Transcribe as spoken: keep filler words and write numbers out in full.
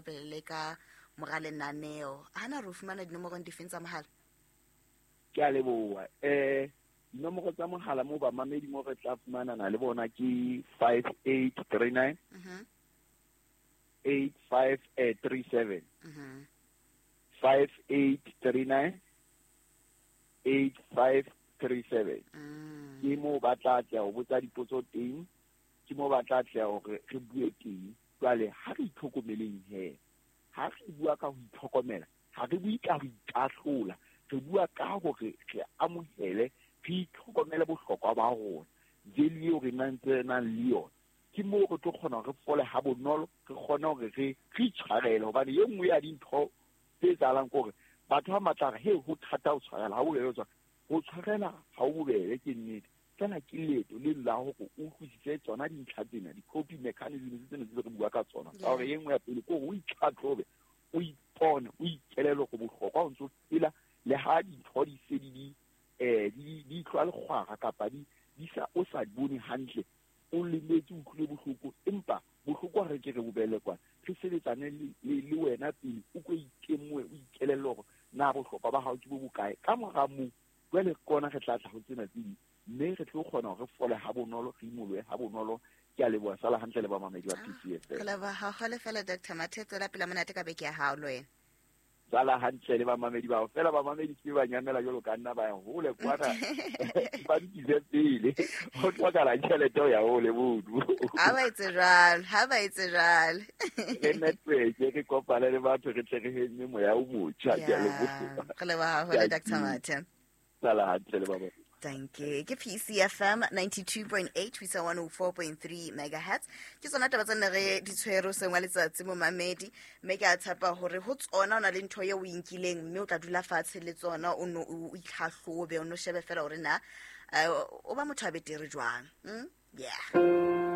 Pele le ka mora lenaneo. Hana re o fumana dinomorong difeng tsa mohala? Ke a leboha. Eh dinomoro tsa mohala moo bamamedi mo re tla fumanana le bona ke five eight three nine Mhm. eight five three seven. Mhm. five eight three nine eight five three seven. Mm. Ke moo ba tla tla ho botsa dipotso teng, ke moo ba tla tla hore re bue teng. Jwale ha re itlhokomeleng he, ha re bua ka ho itlhokomela, ha re bue ka ho ikahlola, re bua ka hore re amohele, re itlhokomele bohlokwa ba rona, value eo re nang tse nang le yona. Ke moo re tlo kgona hore re fole ha bonolo, re kgone hore re re itshwarele, hobane e nngwe ya dintho tse etsahalang ke hore batho ba matla re, he, ho thata ho tshwarela, ha ho bobebe ho tshwarela. Ho tshwarela ha ho bobebe, ke nnete. Fela ke leeto le la hore o utlwisise tsona dintlha tsena, di-coping mechanisms tsena tse re bua ka tsona. Ka hore e nngwe ya pele ke hore o itlhatlhobe, o ipone, o ikelele hore bohlokwa o ntso phela, le ha dintho di se di di, eh, di, di tloha lekgwara kapa di, di sa, o sa di bone hantle, o lemetse, o utlwile bohloko, empa bohloko ha re ke re bo beele kwana, re sebetsane le, le, le wena pele, o ko itemohe, o ikelelle hore na bohlokwa ba hao ke bo bokae. Ka mora moo, jwale ke ona re tla tla ho tsena tse ding, mme re tlo kgona hore re fole ha bonolo, re imolohe ha bonolo. Ke a leboha, sala hantle le bamamedi ba P C F M. Re leboha haholo fela, Doctor Mathe, tswela pele monate ka beke ya hao le wena. Sala hantle le bamamedi bao. Fela bamamedi ke ba nyamela jwalo ka nna, ba ya hole kwana. Ba nkise pele. Ho hlokahala tjhelete ho ya hole mono. Ha ba etse jwalo, ha ba etse jwalo. Re network, re kopane le batho, re tle re heme moya o motjha. Ke a leboha. Re leboha haholo, Ke a Doctor Mathe. Sala hantle le ba bang. Thank you. Ke P C F M ninety-two point eight, ho isa one oh four point three megahertz. Ke tsona taba tse ne re di tshwere hoseng wa letsatsi momamedi, mme ke a tshepa hore ho tsona o na le ntho eo o e nkileng, mme o tla dula fatshe le tsona, o no o itlhahlobe, o no shebe fela hore na, eh, o ba motho a betere jwang. Mm? Yeah.